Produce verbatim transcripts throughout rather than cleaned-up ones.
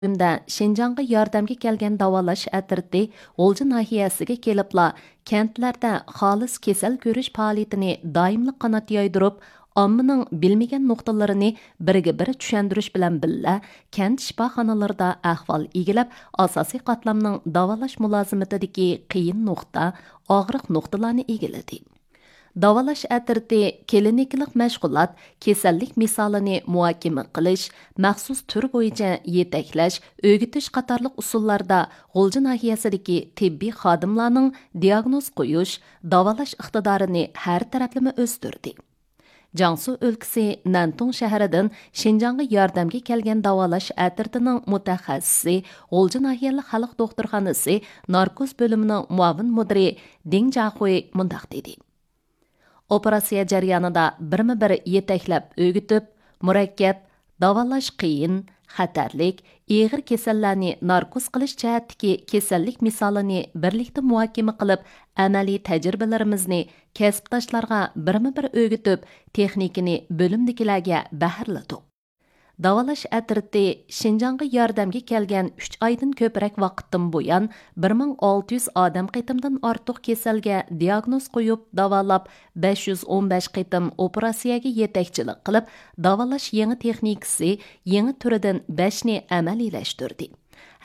ئۈچىنچى، شىنجاڭغا ياردەمگە كەلگەن داۋالاش ئەترىتى غۇلجا ناھىيەسىگە كېلىپلا، كەنتلەردە خالىس كېسەل كۆرۈش پائالىيىتىنى دائىملىق قانات يايدۇرۇپ، ئاممىنىڭ بىلمىگەن نۇقتىلىرىنى بىرگە بىر چۈشەندۈرۈش بىلەن بىللە، كەنت شىپاخانىلىرىدا ئەھۋال ئىگىلەپ، ئاساسىي قاتلامنىڭ داۋالاش مۇلازىمىتىدىكى قىيىن نۇقتا، ئاغرىق نۇقتىلارنى ئىگىلىدى. داۋالاش ئەترىتى كلىنىكىلىق مەشغۇلات، كېسەللىك مىسالىنى مۇھاكىمە قىلىش، مەخسۇس تۈر بويىچە يېتەكلەش، ئۆگىتىش قاتارلىق ئۇسۇللاردا غۇلجا ناھىيەسىدىكى تېببىي خادىملارنىڭ دىياگنوز قويۇش، داۋالاش ئىقتىدارىنى ھەر تەرەپلىمە ئۆستۈردى. جياڭسۇ ئۆلكىسى نەنتۇڭ شەھىرىدىن شىنجاڭغا ياردەمگە كەلگەن داۋالاش ئەترىتىنىڭ مۇتەخەسسىسى، غۇلجا ناھىيەلىك خەلق دوختۇرخانىسى ناركوز بۆلۈمىنىڭ مۇئاۋىن مۇدىرى دىڭ جاخۇي مۇنداق دېدى. ئوپېراتسىيە جەريانىدا بىرمۇ بىر يېتەكلەپ ئۆگىتىپ، مۇرەككەپ، داۋالاش قىيىن، خەتەرلىك، ئېغىر كېسەللەرنى ناركوز قىلىش جەھەتتىكى كېسەللىك مىسالىنى بىرلىكتە مۇھاكىمە قىلىپ، ئەمەلىي تەجرىبىلىرىمىزنى كەسىپداشلارغا بىرمۇ بىر ئۆگىتىپ، تېخنىكىنى بۆلۈمدىكىلەرگە بەھرىلىدۇق. داۋالاش ئەترىتى شىنجاڭغا ياردەمگە كەلگەن ئۈچ ئايدىن كۆپرەك ۋاقىتتىن بۇيان، بىر مىڭ ئالتە يۈز ئادەم قېتىمدىن ئارتۇق كېسەلگە دىياگنوز قويۇپ داۋالاپ، بەش يۈز ئون بەش قېتىم ئوپېراتسىيەگە يېتەكچىلىك قىلىپ، داۋالاش يېڭى تېخنىكىسى يېڭى تۈرىدىن بەشنى ئەمەلىيلەشتۈردى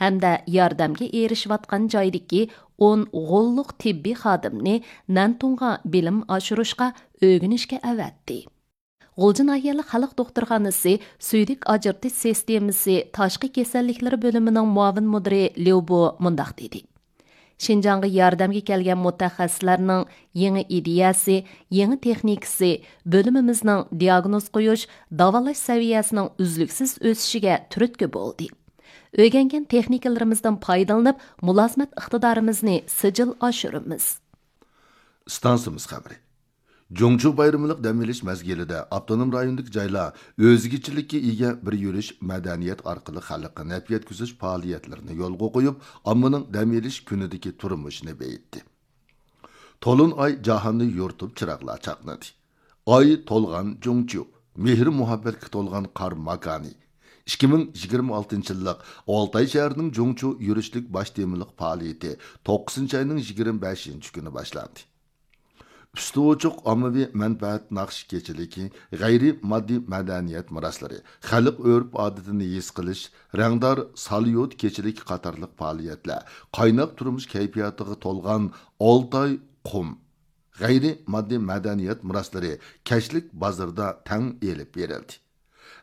ھەمدە ياردەمگە ئېرىشىۋاتقان جايدىكى ئون غوللۇق تېببىي خادىمنى نەنتۇڭغا بىلىم ئاشۇرۇشقا، ئۆگىنىشكە ئەۋەتتى. غۇلجا ناھىيەلىك خەلق دوختۇرخانىسى سۈيدۈك ئاجرىتىش سىستېمىسى تاشقى كېسەللىكلىرى بۆلۈمىنىڭ مۇئاۋىن مۇدىرى ليۇ بو مۇنداق دېدى: شىنجاڭغا ياردەمگە كەلگەن مۇتەخەسسىسلەرنىڭ يېڭى ئىدىيەسى، يېڭى تېخنىكىسى بۆلۈمىمىزنىڭ دىياگنوز قويۇش، داۋالاش سەۋىيەسىنىڭ ئۈزلۈكسىز ئۆسۈشىگە تۈرتكە بولدى. ئۆگەنگەن تېخنىكىلىرىمىزدىن پايدىلىنىپ، مۇلازىمەت ئىقتىدارىمىزنى سىجىل ئاشۇرىمىز. ئىستانسىمىز خەۋىرى. جۇڭچۇ بايرىملىق دەم ئېلىش مەزگىلىدە ئاپتونوم رايوندىكى جايلار ئۆزگىچىلىككە ئىگە بىر يۈرۈش مەدەنىيەت ئارقىلىق خەلققە نەپ يەتكۈزۈش پائالىيەتلىرىنى يولغا قويۇپ، ئاممىنىڭ دەم ئېلىش كۈنىدىكى تۇرمۇشىنى بېيىتتى. تولۇن ئاي جاھاننى يورۇتۇپ چىراغلار چاقنىدى. ئاي تولغان جۇڭچۇ، مېھىر-مۇھەببەتكە تولغان قار ماكانى. ئىككى مىڭ يىگىرمە ئالتىنچى يىللىق ئالتاي شەھىرىنىڭ جۇڭچۇ يۈرۈشلۈك باش تېمىلىق پائالىيىتى توققۇزىنچى ئاينىڭ يىگىرمە بەشىنچى كۈنى باشلاندى. ئۈستى ئوچۇق ئاممىۋى مەنپەئەت ناخشا كېچىلىكى، غەيرىي ماددىي مەدەنىيەت مىراسلىرى، خەلق ئۆرپ-ئادىتىنى ھېس قىلىش، رەڭدار ساليۇت كېچىلىكى قاتارلىق پائالىيەتلەر، قايناق تۇرمۇش كەيپىياتىغا تولغان ئالتاي قۇم، غەيرىي ماددىي مەدەنىيەت مىراسلىرى كەچلىك بازىرىدا تەڭ ئېلىپ بېرىلدى.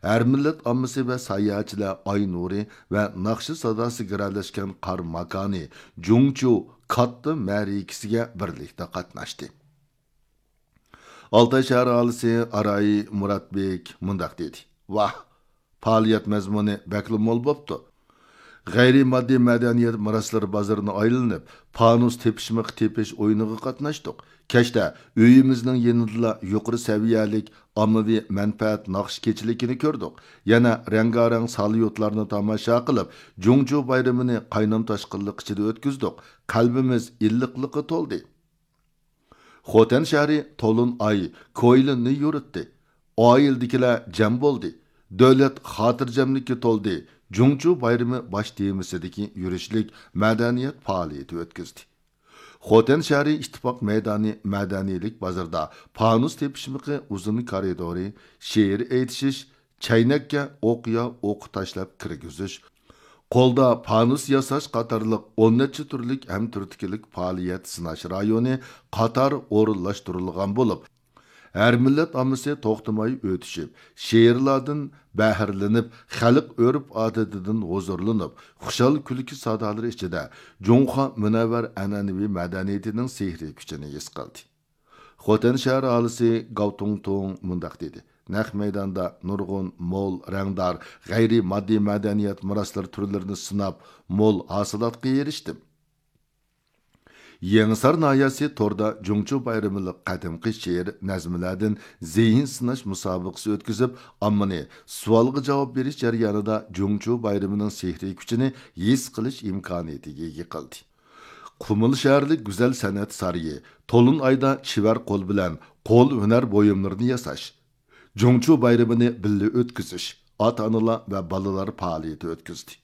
ھەر مىللەت ئاممىسى ۋە ساياھەتچىلەر ئاي نۇرى ۋە ناخشا ساداسى گىرەلەشكەن قار ماكانى جۇڭچۇ كاتتا مەرىكىسىگە بىرلىكتە قاتناشتى. ئالتاي شەھەر ئاھالىسى ئاراي مۇراتبېك مۇنداق دېدى: ۋاھ، پائالىيەت مەزمۇنى بەكلا مول بوپتۇ. غەيرىي ماددىي مەدەنىيەت مىراسلىرى بازىرىنى ئايلىنىپ، پانۇس تېپىشمىقى تېپىش ئويۇنىغا قاتناشتۇق. كەچتە ئۆيىمىزنىڭ يېنىدىلا يۇقىرى سەۋىيەلىك ئاممىۋى مەنپەئەت ناخشا كېچىلىكىنى كۆردۇق. يەنە رەڭگارەڭ ساليۇتلارنى تاماشا قىلىپ، جۇڭچۇ بايرىمىنى قاينام تاشقىنلىق ئىچىدە ئۆتكۈزدۇق. قەلبىمىز ئىللىقلىققا تولدى. خوتەن شەھىرى تولۇن ئاي كويلىننى يورۇتتى. ئائىلىدىكىلەر جەم بولدى. دۆلەت خاتىرجەملىككە تولدى. جۇڭچۇ بايرىمى باش تېمىسىدىكى يۈرۈشلۈك مەدەنىيەت پائالىيىتى ئۆتكۈزدى. خوتەن شەھىرى ئىتتىپاق مەيدانى مەدەنىيلىك بازىرىدا پانۇس تېپىشمىقى ئۇزۇن كارىدورى، شېئىر ئېيتىشىش، چەينەككە ئوقيا ئوق تاشلاپ كىرگۈزۈش، قولدا پانۇس ياساش قاتارلىق ئون نەچچە تۈرلۈك ھەمتۈرتكىلىك پائالىيەت سىناش رايونى قاتار ئورۇنلاشتۇرۇلغان بولۇپ، ھەر مىللەت ئاممىسى توختىماي ئۆتۈشۈپ، شېئىرلاردىن بەھرىلىنىپ، خەلق ئۆرپ-ئادىتىدىن ھۇزۇرلىنىپ، خۇشال كۈلكە سادالىرى ئىچىدە جۇڭخۇا مۇنەۋۋەر ئەنئەنىۋى مەدەنىيىتىنىڭ سېھرىي كۈچىنى ھېس قىلدى. خوتەن شەھەر ئاھالىسى گاۋ تۇڭتۇڭ مۇنداق دېدى: نەق مەيداندا نۇرغۇن مول، رەڭدار، غەيرىي ماددىي مەدەنىيەت مىراسلىرى تۈرلىرىنى سىناپ، مول ھاسىلاتقا ئېرىشتىم. يېڭىسار ناھىيەسى توردا جۇڭچۇ بايرىمىلىق قەدىمكى شېئىر، نەزمىلەردىن زېھىن سىناش مۇسابىقىسى ئۆتكۈزۈپ، ئاممىنى سوئالغا جاۋاب بېرىش جەريانىدا جۇڭچۇ بايرىمىنىڭ سېھرىي كۈچىنى ھېس قىلىش ئىمكانىيىتىگە ئىگە قىلدى. قۇمۇل شەھەرلىك گۈزەل سەنئەت سارىيى تولۇن ئايدا چېۋەر قول بىلەن قول ھۈنەر بۇيۇملىرىنى ياساش، جۇڭچۇ بايرىمىنى بىللە ئۆتكۈزۈش، ئاتا-ئانىلار ۋە بالىلار پائالىيىتى ئۆتكۈزدى.